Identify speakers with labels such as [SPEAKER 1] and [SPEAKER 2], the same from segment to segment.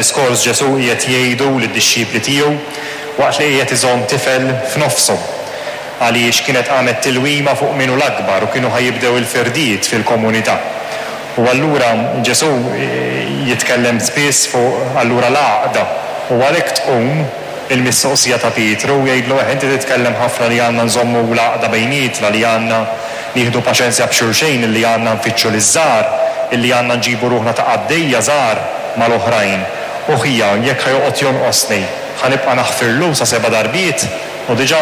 [SPEAKER 1] Diskors Ġesù qiegħed jgħidu lid-dixxipli tiegħu waqt li qiegħed iżomm tifel f'nofshom. Għaliex kienet qamet tilwima fuq min hu l-akbar u kienu ħa jibdew il-firdiet fil-komunità. U allura Ġesù jitkellem spiss fuq allura l-għaqda u għalhekk tqum il-mistoqsija ta' Pietru u jgħidlu eħ inti titkellem ħafna li għandna nżommu l-għaqda bejnietna, li għandna nieħdu paċenzja b'xulxejn, illi għandna nfittxu liż-żgħar, illi għandna nġibu ruħna ta' qaddejja żgħar mal-oħrajn. U ħija, jekk ħa joqgħod jonqosni, ħa nibqa' naħfirlu sa seba' darbiet? U diġà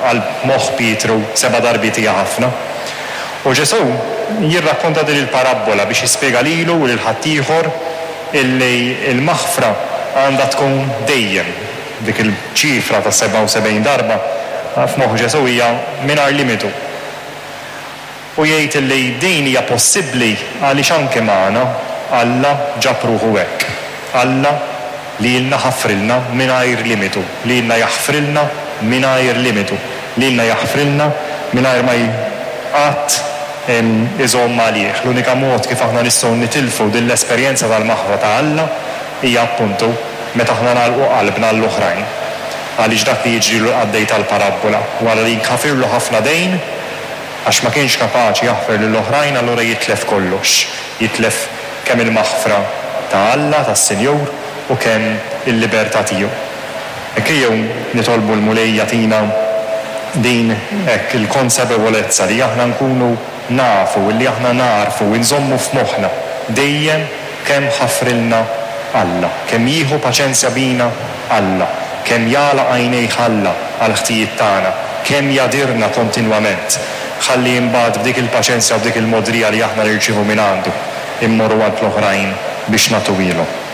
[SPEAKER 1] għal moħħ Pietru seba' darbiet hija ħafna. U Ġesù jirrakkonta din il-parabbola biex jispjega lilu u lil ħaddieħor illi l-maħfra għandha tkun dejjem. Dik il-ċifra ta' 77 darba f'moħħ Ġesù hija mingħajr limitu. U jgħid illi din hija possibbli għaliex anke magħna Alla ġab ruħu hekk. Alla lilna ħafrilna mingħajr limitu, lilna jaħfrilna mingħajr limitu, lilna jaħfrilna mingħajr ma qatt iżomm għalih. L-unika mod kif aħna nistgħu nitilfu din l-esperjenza tal-maħfra ta' Alla hija appuntu meta aħna nagħlqu qalbna għall-oħrajn. Għaliex dak li jiġrilu l-qaddej tal-parabbola, wara li jinħafirlu ħafna dejn, għax ma kienx kapaċi jaħfer lill-oħrajn allura jitlef kollox. Jitlef kemm il-maħfra ta' Alla, tas-Sinjur, u kemm il-libertà tiegħu. Hekk ejjew nitolbu l-Mulej jagħtina din hekk il-konsapevolezza li aħna nkunu nafu, illi aħna nagħrfu, inżommu f'moħħna dejjem kemm ħafrilna Alla, kemm jieħu paċenzja bina Alla, kemm jagħlaq għajnejh Alla għall-ħtijiet tagħna, kemm jagħdirna kontinwament, ħalli imbagħad b'dik il-paċenzja u b'dik il-mogħdrija li aħna nirċievu mingħandu, immorru għand l-oħrajn biex nagħtuhielhom.